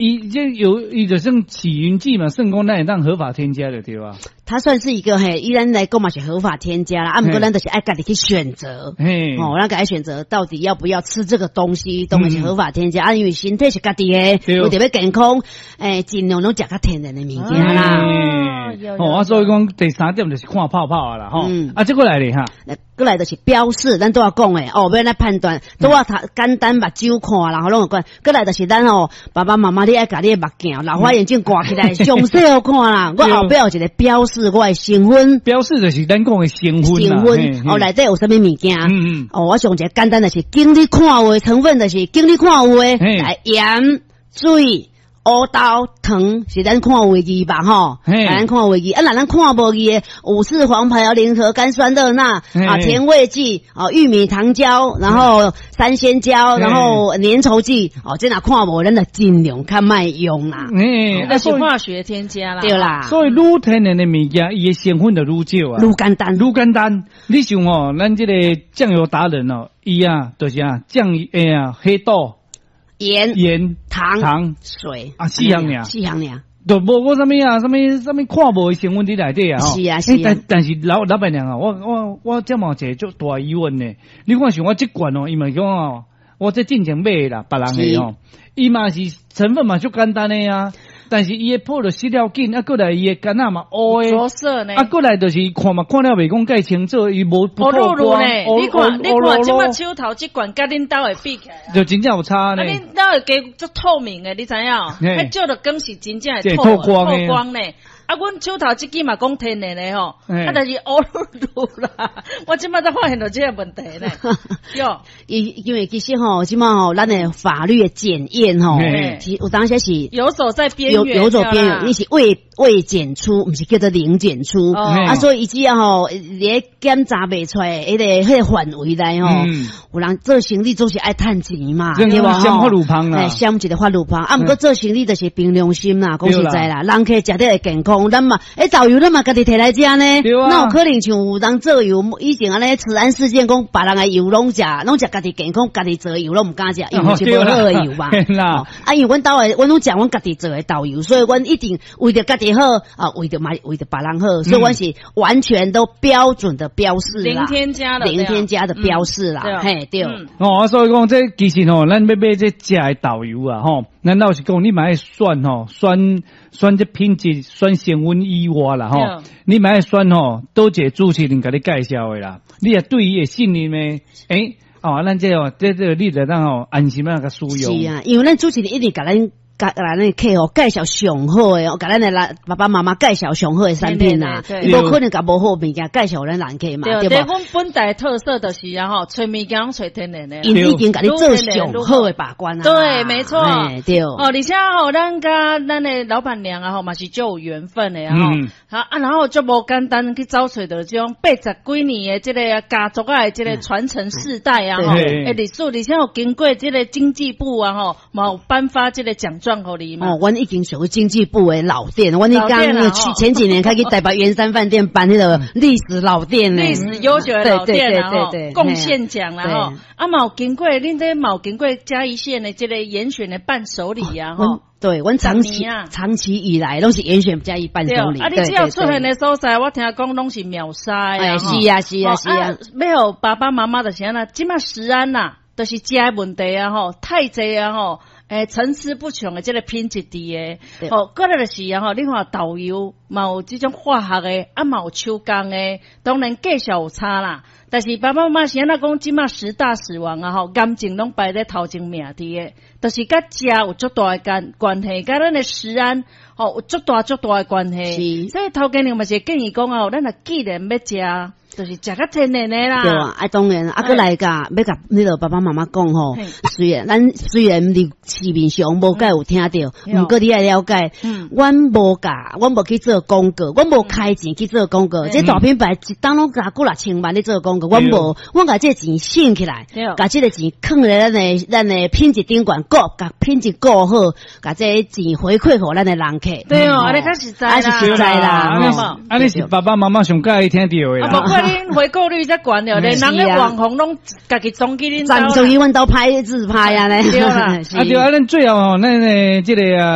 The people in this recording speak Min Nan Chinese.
伊這有伊就算起雲劑嘛，算講咱會當合法添加的對吧？它算是一個嘿，依咱來講嘛是合法添加啦，啊，毋過咱就是愛家己去選擇，哦，咱家己選擇到底要不要吃這個東西，當然是合法添加，啊，因為身體是家己的，為著欲健康，盡量攏食較天然的物件啦。哦，啊，所以講第三點就是看泡泡啦，吼，啊，這個來咧哈，過來就是標示，咱拄仔講的，哦，欲按怎判斷，拄仔頭簡單目睭看啦，吼，攏有關。過來就是咱哦，爸爸媽媽你愛共你的目鏡、老花眼鏡掛起來，詳細予看啦。我後壁有一個標示，我的成分。標示就是咱講的成分。成分哦，內底有啥物物件？哦，我上一個簡單就是，經你看有的成分，就是經你看有的，來鹽、水、烏豆、糖，是咱看有的字吧？吼，咱看有的字，啊，若咱看無字的，五四黃牌、聯合甘酸樂鈉啊，甜味劑啊，玉米糖膠，然後三鮮膠，然後粘稠劑，哦，這若看無，咱就盡量較莫用啦。那是化學添加啦。對啦。所以愈天然的物件，伊的成分就愈少啊。愈簡單，愈簡單。你像吼，咱這個醬油達人哦，伊啊，就是啊，醬油啊，黑豆。鹽、鹽、糖、糖、水啊，四項爾，四項爾，就無講啥物啊，啥物啥物看無的成分佇內底啊，是啊，是啊。但是老闆娘啊，我這嘛有一個足大疑問呢。你看像我這罐哦，伊嘛講哦，我這進前買的啦，別人的哦，伊嘛是成分嘛足簡單的啊。但是伊的泡著失了緊，啊，過來伊的柑仔嘛烏的，着色呢，啊，過來就是看嘛看了袂講蓋清楚，伊無不透光。你看，你看，這馬手頭這罐佮恁兜的比起來，就真正有差呢。啊，恁兜的加足透明的，你知影？彼照著光是真正會透光呢。啊，阮手頭這支嘛講天然的吼，啊，但是烏嚕嚕啦，我這馬才發現著這個問題呢。喲，因為其實吼，這馬吼，咱的法律的檢驗吼，其實有當時是游走在邊緣，游走邊緣，你是未檢出，毋是叫做零檢出，啊，所以伊只要吼，咧檢查袂出來，彼個範圍內吼，有人做生意總是愛趁錢嘛，對無？鑲法律芳啦，鑲一個法律芳，啊，毋過做生意就是憑良心啦，講實在啦，人客食得會健康。咱嘛，豆油咱嘛家己提來食呢，哪有可能像有人做油？以前按呢食安事件，講別人的油攏食，攏食家己健康，家己做的油攏毋敢食，因為是無好的油嘛。啊，因為阮兜的，阮攏食阮家己做的豆油，所以阮一定為著家己好啊，為著嘛為著別人好，所以阮是完全都標準的標示啦，零添加的，零添加的標示啦，嘿對。哦，所以講這其實吼，咱欲買這食的豆油啊，吼，咱老實講，你嘛愛選吼，選這品質，選成分以外啦，吼，你嘛愛選吼，佗一个主持人共你介紹的啦，你也對伊會信任的，哦，咱這哦，這你就當吼安心啊，共使用。是啊，因為咱主持人一直共咱共咱的客戶介紹上好的，共咱的爸爸媽媽介紹上好的產品啊，無可能共無好物件介紹咱人客嘛，對無？阮本台特色就是啊吼，揣物件攏揣天然的，𪜶已經共你做上好的把關啊。對，沒錯，對。哦，而且吼，咱佮咱的老闆娘啊吼，嘛是足有緣分的啊吼。好啊，然後足無簡單去找揣著這種80幾年的這個家族啊，這個傳承世代啊吼，歷史，而且有經過這個經濟部啊吼，嘛有頒發這個獎狀予你嘛。哦，阮已經屬於經濟部的老店，阮彼工去前幾年開去台北圓山飯店頒彼個歷史老店呢，歷史悠久的老店啊吼，貢獻獎啦吼，啊嘛有經過恁這嘛有經過嘉義縣的這個嚴選的伴手禮啊吼。對，阮長期以來攏是嚴選嘉義伴手禮。啊，你只要出現的所在，我聽講攏是秒殺啊。是啊，是啊，是啊。欲予爸爸媽媽就是按怎，這馬食安呐，就是食的問題啊吼，太濟啊吼。層出不窮的這個品質佇的，哦，過來就是啊吼，你看豆油嘛有這種化學的，啊嘛有手工的，當然價數有差啦。但是爸爸媽媽是按怎講，這馬十大死亡啊吼，癌症攏排咧頭前名佇的，就是佮食有足大的關係，佮咱的食安吼有足大足大的關係。所以頭家娘嘛是建議講啊，咱若既然欲食，就是食較天然的啦。對啊，啊當然，啊閣來共欲共彼個爸爸媽媽講吼，雖然咱佇市面上無蓋有聽著，毋過你愛了解，阮無共，阮無去做廣告，阮無開錢去做廣告。這大品牌一冬攏共幾若千萬咧做廣告，阮無，阮共這個錢省起來，共這個錢囥咧咱的品質頂懸顧，共品質顧好，共這個錢回饋予咱的人客。對哦，按呢較實在啦，實在啦，按呢是爸爸媽媽上佮意聽著的啦。怪恁回購率遮懸了，連人的網紅攏家己衝去恁兜，衝去阮兜拍自拍啊咧。對啦。啊對啊，咱最後吼，咱的這个啊。